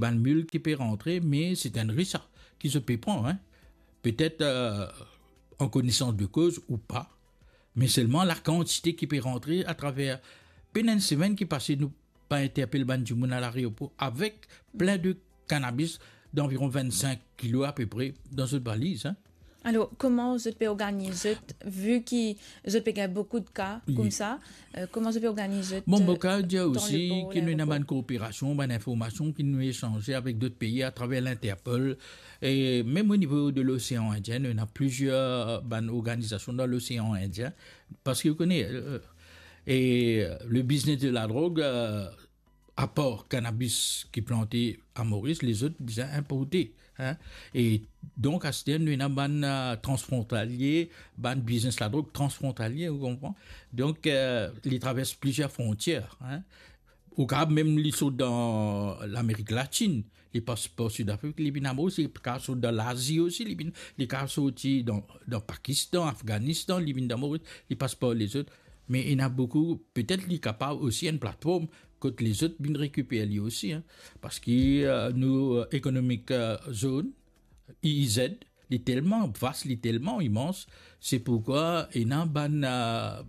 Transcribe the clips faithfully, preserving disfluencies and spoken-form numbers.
bann mil ki pe rantre, me se enn risk ki zot pe pran, hein. Petet, euh, an konesans de koz ou pa, me selman lakantite ki pe rantre atraver, pena enn semenn ki pase, nou pa interpel bann dimoun a laeropor avek plin de kanabis danviron vinn-sink kilo apepre dan zot valiz, hein. Alor, kouma zot pe organiz zot, vi ki zot pe gagn boukou de ka koumsa, euh, kouma zot pe organiz zot, Bon, euh, mo kav dir dan osi lepor, ki nou ena laeropor? Bann kooperasion, bann informasion ki nou esanze avek dot pei atraver Interpol, e mem o nivo de Losean Indien, nou ena plizier bann organizasion dan Losean Indien, parski ou kone, euh, e, euh, le biznes de ladrog, euh, apar kanabis ki plante a Moris, lezot bizin inporte, hein. E donk, aster nou ena bann, euh, transfrontalie, bann biznes ladrog transfrontalie, ou konpran? Donk, euh, li travers plizier frontier, hein. Ou kav mem li sot dan Lamerik Latin, li pas par Sidafrik, li vinn a Moris, li kav sot dan Lazi osi, li vinn, li kav sorti dan, dan Pakistan, Afganistan, li vinn dan Moris, li pas par lezot. Me ena boukou, petet li kapav osi enn platform kot lezot vinn rekiper li osi, hein. Parski, euh, nou, euh, economic, euh, zone, E E Z, li telman vas, li telman imans, se pourkwa ena bann, euh,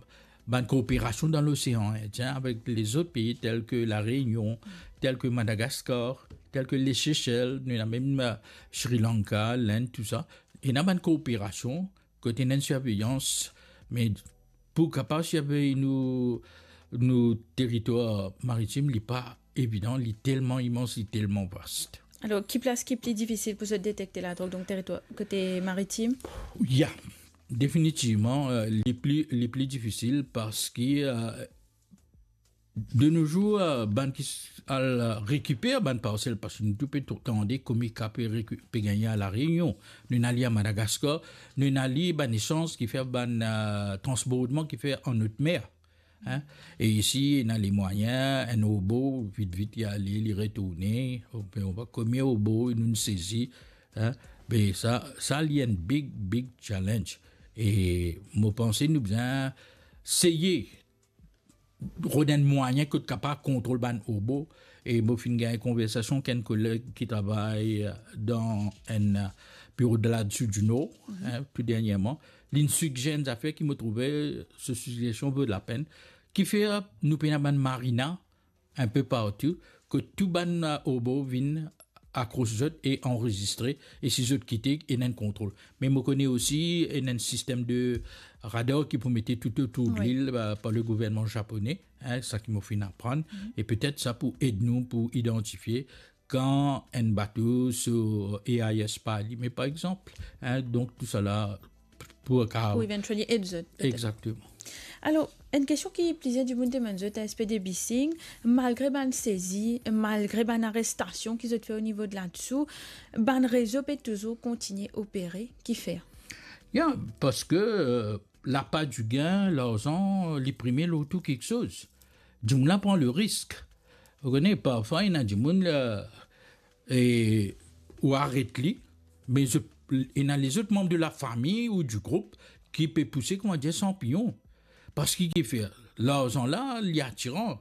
bann kooperasion dan Losean Indien avek lezot pei tel ke La Reunion, tel ke Madagascar, tel ke le Sesel, nou ena mem, euh, Sri Lanka, Lind, tousa. Ena bann kooperasion kot ena enn sirveyans, me pou kapav sirvey nou, nou teritwar maritim, li pa evidan, li telman imans, li telman vas. Alor, ki plas ki pli difisil pou zot detekte ladrog, donk teritwar kote maritim? Ya, definitivman, euh, li pli, li pli difisil parski, euh, de nos jours, euh, bann ki s-, al, euh, rekiper bann parsel, parski nou tou pe tou tande koumsa pe reku-, pe gagne a La Reunion, nou ena li a Madagascar, nou ena li bann esanz ki fer bann, euh, transbordman ki fer an haute mer, hein. E isi, ena lemwayin, enn obo, vit, vit, li ale, li retourne, ou pe, ou pe, konbien obo nou sezi, hein. Me sa, sa li enn big, big challenge. E mo panse nou bizin seye rod enn mwayin kot kapav kontrol bann obo. E mo finn gagn konversasyon ek enn koleg ki travay, euh, dan enn, euh, biro de la Dieu du Nord, hein, tou dernyerman. Linn sigzer enn zafer ki mo trouve, so sigzersion vo lapenn. Kifer nou pena bann marina inpe partou, kot tou bann, euh, obo vinn akros zot e anrezistre, e si zot kite, ena enn kontrol. Me mo kone osi ena enn sistem de radar ki pou mete toutotour de lil, euh, par le gouvernman zapone, hein, sa ki mo finn aprann, e petet sa pou ed nou pou idantifie kan enn bato so A I S pa alime, par exanp, hein, donk tousala pou ka... Pou eventually ed zot, petet. Exactement. Alor, enn kestion ki plizier dimoun demann zot, S P D Bising, malgre bann sezi, malgre bann arestasyon ki zot fer o nivo de ladisou, bann rezo pe touzour kontigne opere, kifer? Ya, parski, euh, lapa di gin, larzan, li prime lor tou kiksoz. Dimoun la pran le risk. Ou kone, parfwa, ena dimoun la, e ou aret li, me zot, ena lezot manb de lafami ou di group ki pe pouse, kouma dir, sanpiyon. Parski kifer? Larzan la, li atiran.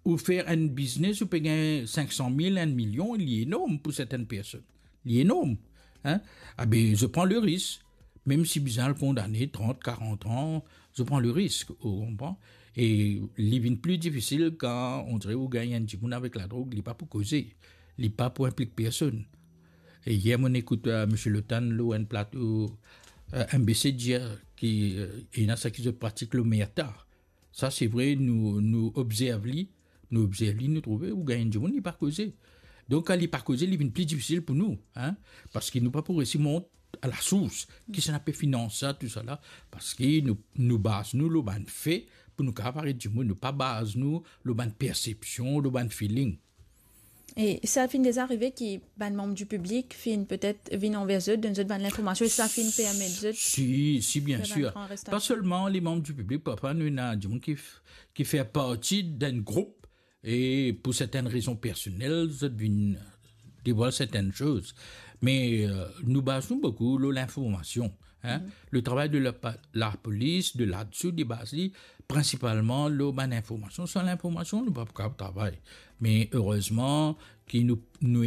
Ou fer enn biznes, ou pe gagn sink san mil, enn milyon, li enorm pou sertenn personn. Li enorm, hein? Abe, zot pran le risk. Mem si bizin al kondane trant, karant an, zot pran le risk, ou konpran? E li vinn pli difisil kan, on dire, ou gagn enn dimoun avek ladrog, li pa pou koze, li pa pou inplik personn. E yer, mo'nn ekout, euh, Misie Lotan lor enn plato, euh, M B C dir ki, euh, ena seki zot pratik lomerta. Sa, se vre, nou, nou obzerv li, nou obzerv li, nou trouve, ou gagn dimoun, li pa koze. Donk, kan li pa koze, li vinn pli difisil pou nou, hein, parski nou pa pou resi mont a lasours, kisannla pe finans sa, tousala, parski nou, nou baz nou lor bann fe pou nou kapav aret dimoun, nou pa baz nou lor bann persepsyon, lor bann feeling. E sa finn deza arive ki bann manm di piblik finn petet vinn anver zot, donn zot bann linformasyon, e sa finn permet zot... Si, si, bien sir. Pa selman le manm di piblik, parfwa nou ena dimoun ki f-, ki fer parti d'enn group, e pou sertenn rezon personel, zot vinn devwal sertenn soz. Me, euh, nou baz nou boukou lor linformasyon. Hein? Le travay de la, lapolis, de ladsu, de baz li, prinsipalman lor bann informasion. San linformasion, nou pa pou kapav travay. Me erezman ki nou, nou